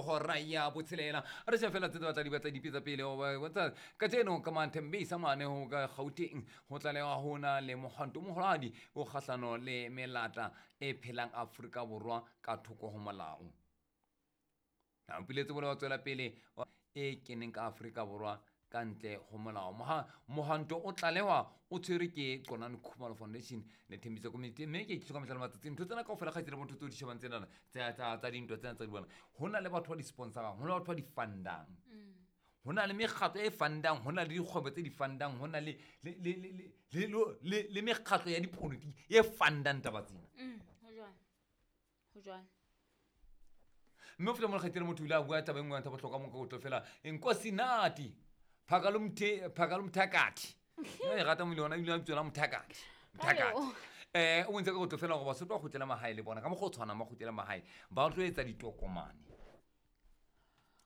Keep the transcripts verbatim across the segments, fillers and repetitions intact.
hora ya botshelela. Re se fela tse batla di batla dipetsa pele o ba kajeno ka Manthembisa mane ho ka Gauteng ho tlalewa hona le mohwanto moholadi o kgahlano le melata e phelang Afrika Borwa ka thoko ho molao. Na mpiletse bole wa tswela pele e keneng ka Afrika Borwa ka ntle ho molao. Mohwanto o tlalewa o tshwerwe ke Qonani Khumalo Foundation le Thembisa Community, mme ke itse ka mehla le matsatsi ntho tsena kaofela kgaitsedi motho tseo di shebang tsena tsa tsa tsa dintwa tsena tsa di bona. Ho na le batho ba di sponsorang, ho na le batho ba di fundang, ho na le mekgatlo e fundang, ho na le dikgwebo tse di fundang, ho na le le le le le le mekgatlo ya dipolitiki e fundang taba tsena. Ho jwang? Ho jwang? Mme o feta mo kgaitsedi motho o ile a bua taba e nngwe ya bohlokwa mo ka o tlo fela Nkosinati Phakalumthe Phakalumthakathi. E rata mo le yona ile a bitswa Mthakathi. Mthakathi. Eh o ntse ka go tlo fela gore Basotho ba kgutlela mahae le bona ka mokgwa o tshwanang ba kgutlela mahae ba tlo etsa ditokomane.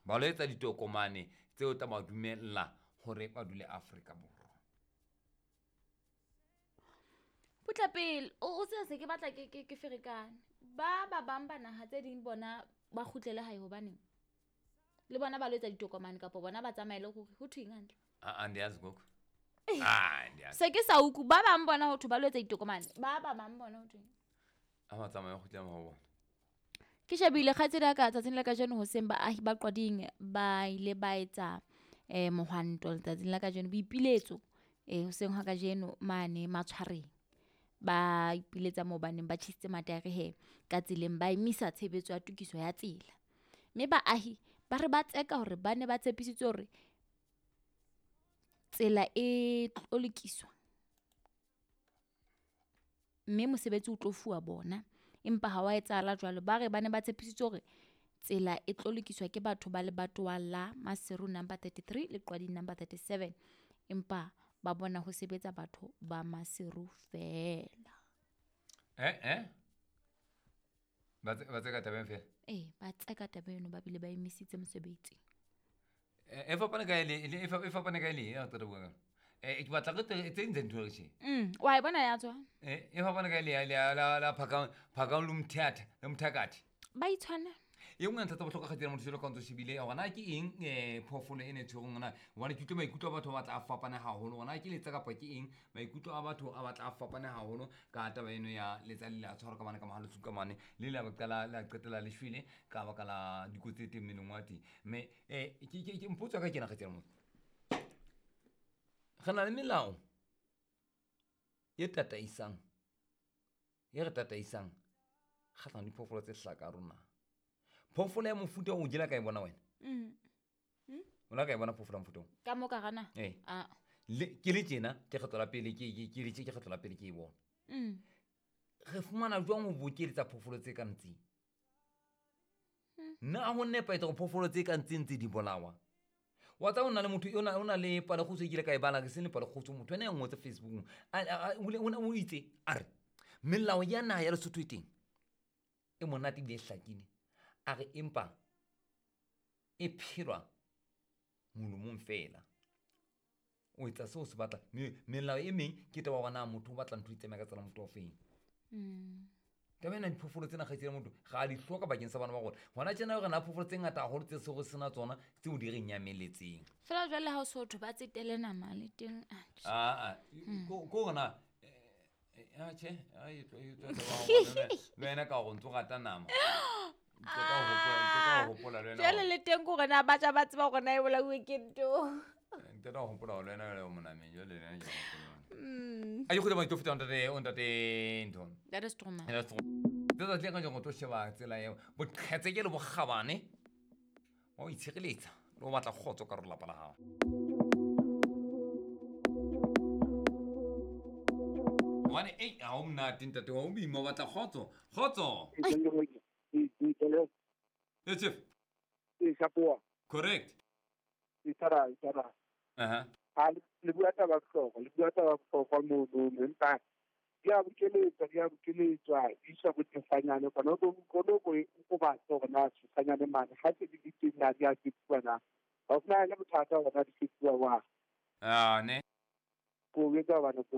Ba lo etsa ditokomane tseo tla ba dumella hore ba dule Afrika Borwa. Putla pele o se se ke batla ke ke ke ferekane. Ba ba bang ba naha tse ding bona ba kgutlele hae hobaneng? Le bona ba lo etsa ditokomane kapa bona ba tsamaele hore ho thweng hantle? Ah, andiyazi gogo. Ah, andiyazi. Se ke sa uku ba bang bona ho thwe ba lo etsa ditokomane. Ba ba bang bona ho thweng? A ba tsamaye ho kgutlela ho bona. Ke shebile kgaitsedi ya ka tsatsing la kajeno hoseng baahi ba Qwading ba ile ba etsa eh mohwanto letsatsing la kajeno, boipiletso eh hoseng ha kajeno mane Matshwareng. Ba ipiletsa moo baneng ba tjhisitse mataere he ka tseleng, ba emisa tshebetso ya tokiso ya tsela. Mme baahi ba re ba tseka hore ba ne ba tshepisitswe hore tsela e tlo lokiswa mme mosebetsi o tlo fuwa bona, empa ha wa etsahala jwalo. Ba re ba ne ba tshepisitswe hore tsela e tlo lokiswa ke batho ba lebatowa la Maseru number thirty-three le Qwading number thirty-seven, empa ba bona ho sebetsa batho ba Maseru fela. Eh eh ba ba tseka tabeng fela. Eh ba tseka taba eno, ba bile ba emisitse mosebetsi. E fapane ka ile e fapane ka ile ya tata bua. Eh ke batla re tse ntse ntho re tje. Mm wa e bona ya tswa. Eh e fapane ka ile ya la la phaka phaka lumthatha le mthakathi. Ba itshwana. E nngwe ntlha tsa bohlokwa kgaitsedi motho jwalo ka ntso shebile hore na ke eng eh phoofolo e ne tshwereng hona hobane ke utlwe maikutlo a batho ba batla a fapane haholo hore na ke letsa kapa ke eng maikutlo a batho a batla a fapane haholo ka taba eno ya letsa le la tshwarwa ka mane ka mahalo tsuka mane le la qala la qetela le shwele ka baka la dikotsi tse teng mmeleng wa teng. Mme eh ke ke mpotso ka kena kgaitsedi motho re na le melao e tataisang e re tataisang kgahlano le diphoofolo tse hlaha ka rona. Phoofolo ya mofuta o jela ka e bona wena? Mm. Mm. O la ka e bona phoofolo ya mofuta o? Ka mo ka gana? Eh. Ah. Le ke le tjena ke kgetlo la pele ke ke ke le tje ke kgetlo la pele ke e bona. Mm. Re fumana jwang ho bokeletsa phoofolo tse ka ntseng? Nna ho nepahetse hore phoofolo tse ka ntseng tse di bolawa. Wa tseba o na le motho o na o na le palekgutshwe e kile ka e bala ke se le palekgutshwe motho ena ya ngotse Facebookong. A o itse a re melao ya naha ya Lesotho e teng e monate ebile e hlakile. A re empa e phelwa molomong fela. O etsa seo se batla. Melao e meng ke taba hore na motho o batla ntho e tsamaya ka tsela motho o feng. Mm. Taba ena diphoofolo tsena kgaitsedi motho ga di hloka bakeng sa bana ba rona. Hona tjena re na phoofolo tse ngata haholo tse sego sena tsona tseo di re nyameletseng. Fela jwale ha o so thwe ba tsetele nama le teng atjhe. Ah ah ko ko rona eh atjhe ai tlo e tlo taba le wena ka hore ntso rata nama. Jwale le teng hore na batjha ba tseba hore na e bolauwe ke ntho. Ntate wa hopola hore le wena o monameng jwale le wena ke hopola. Mm. A ke kgutla ba ntate o ntate ntho. That is true. That is true. Tsatsi le ka jeng o tlo sheba tsela eo boqhetseke le bokgabane wa o itshireletsa le o batla kgotso ka lelapa la hao. Hobane ei ha o monate ntate wa o boima o batla kgotso. Kgotso. Yes, chief. Correct. Itara itara. Aha. Ha le bua taba bohlokwa, le bua taba bohlokwa mono empa di a bokeletswa, di a bokeletswa, di iswa bo Tefanyane kwana ko ko ko ko batla hore na Tefanyane mane ha se di le teng na di a fetuwa na. Ha ho na le bothata hore na di fetuwa wa. Ah ne. Ko etsa bana ko